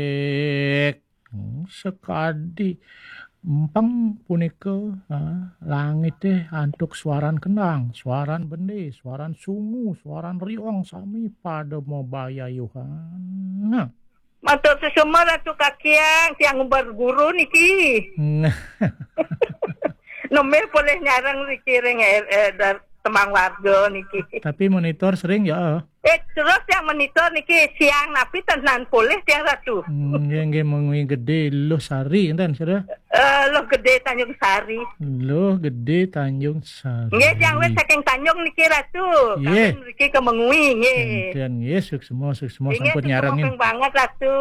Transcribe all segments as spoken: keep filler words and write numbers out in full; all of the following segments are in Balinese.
Cek. Hmm, sekadi empeng punika, ha, langite antuk suaran kendang, suaran bende, suaran sungu, suaran riong sami pada mabayayuhan. Nah. Matur suksma Ratu Kakiang, tiang umbar guru niki. Nah. Nembe polih nyareng niki ring, eh, eh, dar-, tembang warga niki. Tapi monitor sering ya? Eh, terus yang monitor niki siang napi tenan polih tiang Ratu. Hmm, nggih, nggih, mengwi gede Luh Sari enten sira. Eh, Luh Gede Tanjung Sari. Luh Gede Tanjung Sari. Nggih, tiang wis saking Tanjung niki Ratu. Nggih. Kawin niki ke Mengwi nggih. Enten nggih, suksma, suksma. Nggih, sampun suksma nyarengin. Ping banget Ratu.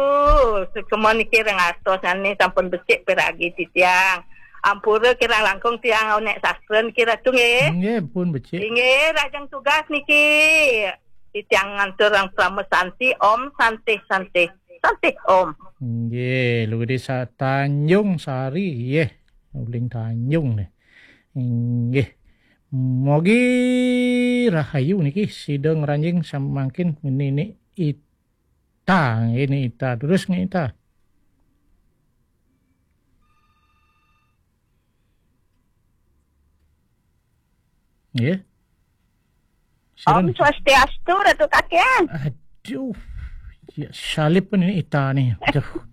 Suksma niki ring atos ngene sampun becik piragi titiang. Ampura kirang langkung tiang nek sastra niki Ratu nggih. Nggih, pun becik. Nggih, rajang tugas niki. Titiang ngantur ring Parama Santi, Om Santi Santi. Santi Om. Nggih, Luh Gede Sa-, Tanjung Sari, nggih. Uling Tanjung nih. Nggih. Mogi rahayu niki sida ngranjing samangkin nini ita, nggih, ni ita. Terus nggih ita. Nggih. Om Swastiastu, Ratu Kakian. Aduh. Ya, salib pun ini ita nih. Aduh.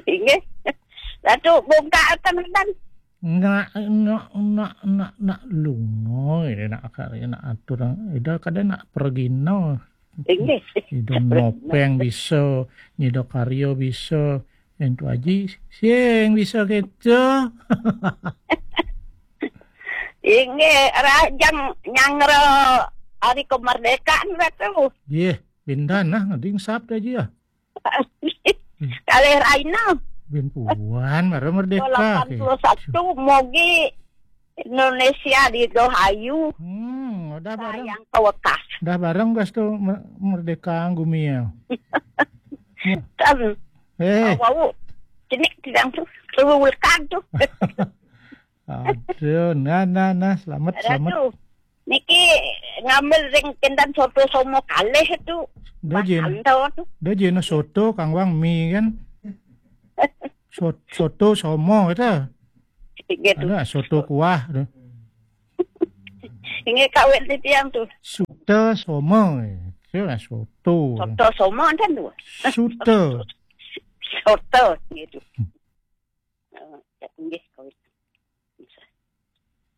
Inggih. Ratu bongkar tenan. Nak, nak, nak, nak, nak lunga, ini nak akar, nak atur, ida kada nak pergina. Inggih. Ida nopeng bisa, nyida karya bisa, entu aji, sing bisa kita. Inggih, rajang nyanggra hari kemerdekaan, Ratu. Nggih, pindan nah, ngading sabda aja ya. Kalih Raina. Bin puan, baru merdeka. Lapan puluh satu, mogi Indonesia di Dohayu. Hmm, udah bareng. Sayang kawekas. Udah bareng gas tuh mer-, merdeka gumi ya. Kan. Eh. Wau. Cenik tidak tuh. Tuh lekan tuh. Aduh, nah, nah, nah, selamat, selamat. Aduh. Niki ngambil ring kinten soto somo kalih tu. Dah jen. Dah jen soto kang wang mi kan. Sot-, soto somo itu. Gitu. Ada soto kuah tu. Ini kawin titiang tu. Soto somo. Itu lah soto. Soto somo kan tu. Soto. Soto gitu. Eh, nggih, kawit